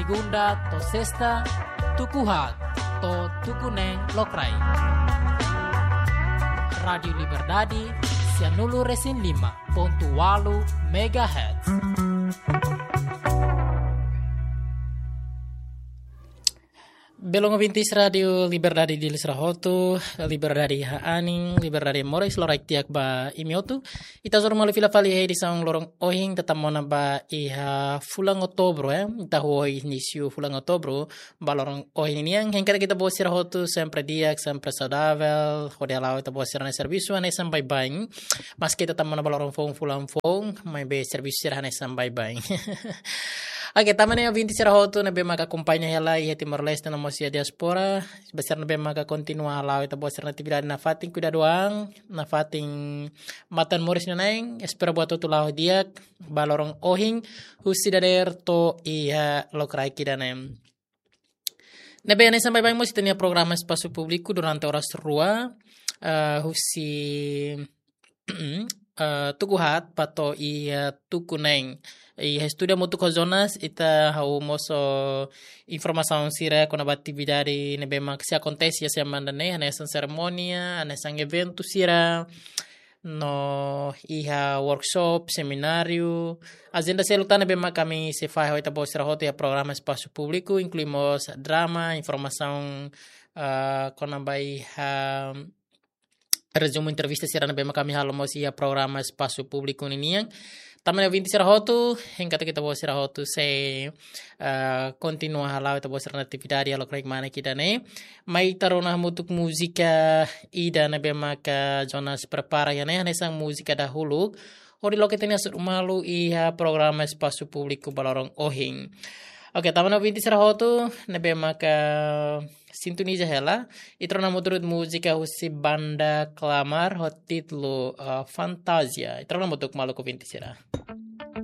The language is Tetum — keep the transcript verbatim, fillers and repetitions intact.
Segunda to'o sesta, tuku haat to'o tuku neen lokraik. Rádiu Liberdade, sianulu-resin-lima pontu ualu megahertz. Belun ouvintes Rádiu Liberdade Dili sira hotu, liberdade iha anin, liberdade moris, loraik di'ak ba imi hotu. Ita hasoru malu fila fali iha edisaun loron ohin, ita tama ona ba iha fulan Outubru, eh. Ita hahú inísiu fulan Outubru ba loron ohin nian. Hein katak ita-boot sira hotu sempre di'ak, sempre saudavel, hodi hala'o ita-boot sira-nia servisu hanesan baibain. Maski ita tama ona ba loron foun, fulan foun, maibé servisu sira hanesan baibain. Oke, tanba ne'e ouvintes sira hotu ne'ebé maka akompaña hela iha Timor-Leste no mós iha diáspora, ba sira ne'ebé maka kontinua hala'o ita-boot sira-nia atividade nafatin, kuidadu an, nafatin matan moris nanain, espera buat hotu la'o di'ak ba loron ohin, husi dadeer to'o iha lokraik ida-ne'e. Ne'ebé hanesan baibain mós ita-nia programa Espasu Públiku durante oras rua, eh, husi, eh, tuku haat ba to'o iha, eh, tuku neen. Iha estúdiu hamutuk ho Jonas, ita hahú mosu informasaun sira kona-ba atividade ne'ebé mak sei akontese iha semana ne'e, hanesan serimónia, hanesan eventu sira, no iha workshop, semináriu, ajenda seluk tan ne'ebé mak ami sei fahe ho ita-boot sira hotu iha programa Espasu Públiku, inklui mós drama, informasaun, ah, kona-ba iha rezumu entrevista sira ne'ebé mak ami halo mós iha programa Espasu Públiku ninian. Tanba ne'e ouvintes sira hotu, hein katak ita-boot sira hotu sei, ah, kontinua hala'o ita-boot sira-nia atividade iha lokraik mane ida-ne'e. Mai ita rona hamutuk múzika ida ne'ebé maka Jonas prepara iha ne'e, hanesan múzika dahuluk hodi loke ita-nia hasoru malu iha programa Espasu Públiku ba loron ohin. Oke, tanba ne'e ouvintes sira hotu ne'ebé maka sintoniza hela, ita rona hamutuk múzika husi banda Klamar ho títulu, eh, Fantasia. Ita rona hamutuk maluk ouvintes sira.